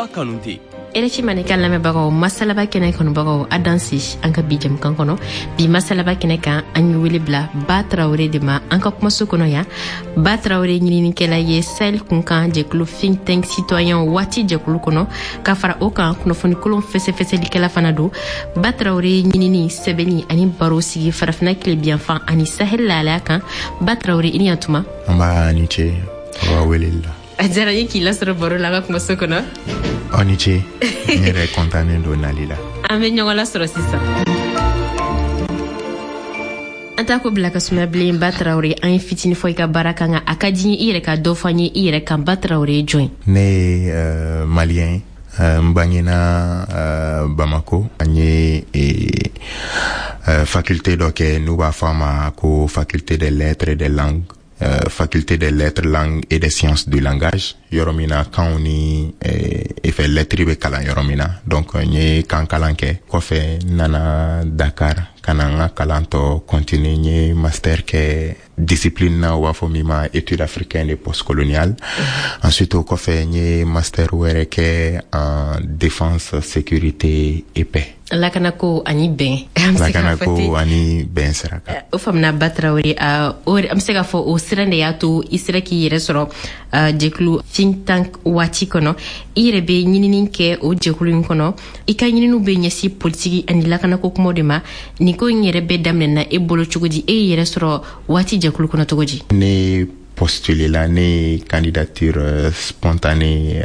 Ba Kanute. RFI Mandenkan lamɛnbagaw, Masalaba kɛnɛ kanubagaw, a danse an ka bi jɛmukan kɔnɔ. Bi masalaba kɛnɛ kan, an ye wele bila Ba Tarawele de ma an ka kumaso kɔnɔ yan. Ba Tarawele ɲininikɛla ye Sahel kunkan jɛkulu think tank citoyen Waati jɛkulu kɔnɔ. Ka fara o kan, kunnafonikolon fɛsɛfɛsɛlikɛla fana don. Ba Tarawele ɲinini, sɛbɛnni ani baro sigi Farafina tilebiyanfan ani Sahel lahalaya kan. Ba Tarawele, i ni yantuma. An b'a ni ce aw ka weleli la. A diyara n ye k'i lasɔrɔ baro la an ka kumaso kɔnɔ. Aw ni ce, n yɛrɛ kɔntannen don nali la. An bɛ ɲɔgɔn lasɔrɔ sisan, an t'a ko bila ka sumaya bilen. Ba Tarawele, an ye fitini fɔ i ka baara kan, nka a ka di i yɛrɛ ka dɔ fɔ an ye i yɛrɛ kan. Ba Tarawele ye jɔn ye? Ne ye Malien ye. N bangena Bamako. An ye faculté dɔ kɛ n'u b'a fɔ a ma ko faculté des lettres et des langues, faculté des lettres, langues et des sciences du langage, yɔrɔ min na kanw ni fɛ lettres bɛ kalan yɔrɔ min na. Donc n ye kan kalan kɛ. Kɔfɛ, n nana Dakar ka na n ka kalan tɔ continuer. N ye master kɛ discipline na u b'a fɔ min ma études africaines et postcoloniales. Ensuite, o kɔfɛ, n ye master wɛrɛ kɛ en défense, sécurité et paix. Lakanako ani bɛn. Lakanako ani bɛn sira kan. O faamuna, Ba Tarawele. An bɛ se k'a fɔ o sira de y'a to i sera k'i yɛrɛ sɔrɔ jɛkulu think tank Waati kɔnɔ. I yɛrɛ bɛ ɲinini kɛ o jɛkulu in kɔnɔ. I ka ɲininiw bɛ ɲɛsin politiki ani lakanako kumaw de ma. Nin ko in yɛrɛ bɛɛ daminɛna e bolo cogo di? E y'i yɛrɛ sɔrɔ Waati jɛkulu kɔnɔ cogo di? Ne postulé la, ne candidature spontanée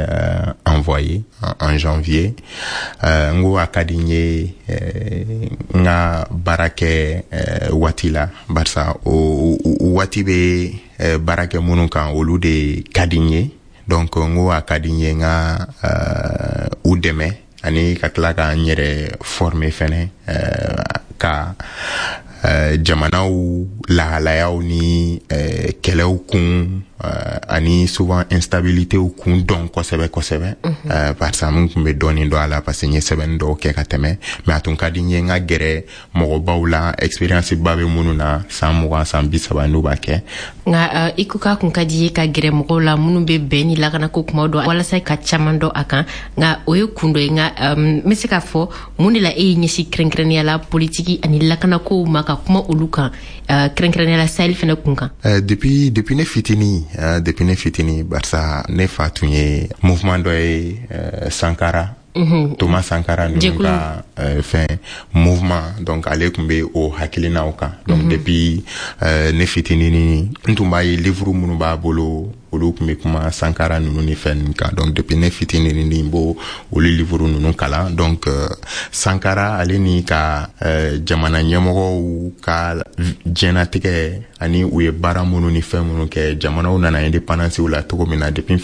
envoyée en janvier. N ko a ka di n ye n ka baara kɛ Waati la, barisa o waati bɛ baara kɛ minnu kan, olu de ka di n ye. Donc n ko a ka di n ye n ka u dɛmɛ ani ka tila ka n yɛrɛ former fɛnɛ ka jamanaw lahalayaw ni kɛlɛw kun ani souvent instabilitéw kun dɔn kosɛbɛ kosɛbɛ, barisa n kun bɛ dɔɔni dɔn a la, parce que n ye sɛbɛnni dɔw kɛ ka tɛmɛ. Mais a tun ka di n ye n ka gɛrɛ mɔgɔbaw la, expérience ba bɛ minnu na, san 20, san 30 n'u b'a kɛ. Nka i ko k'a kun ka di ye ka gɛrɛ mɔgɔw la minnu bɛ bɛn ni lakanako kumaw dɔn walasa ka caman dɔn a kan, nka o ye kun dɔ ye. Nka n bɛ se k'a fɔ mun de la e y'i ɲɛsin kɛrɛnkɛrɛnnenya la politiki ani lakanakow ma, ka kuma olu kan, kɛrɛnkɛrɛnnenya la Sahel fɛnɛ kun kan? Depuis ne fitini, depuis ne fitini, barisa ne fa tun ye mouvement dɔ ye, Sankara, Thomas Sankara ninnu ka fɛn mouvement. Donc ale tun bɛ o hakilinaw kan. Donc depuis ne fitinini, n tun b'a ye livre minnu b'a bolo, olu tun bɛ kuma Sankara ninnu ni fɛn ninnu kan. Donc depuis ne fitinini, n b'o olu livre ninnu kalan. Donc Sankara, ale ni ka jamana ɲɛmɔgɔw ka diɲɛnatigɛ ani u ye baara minnu ni fɛn minnu kɛ, jamanaw nana indépendance la cogo min na, depuis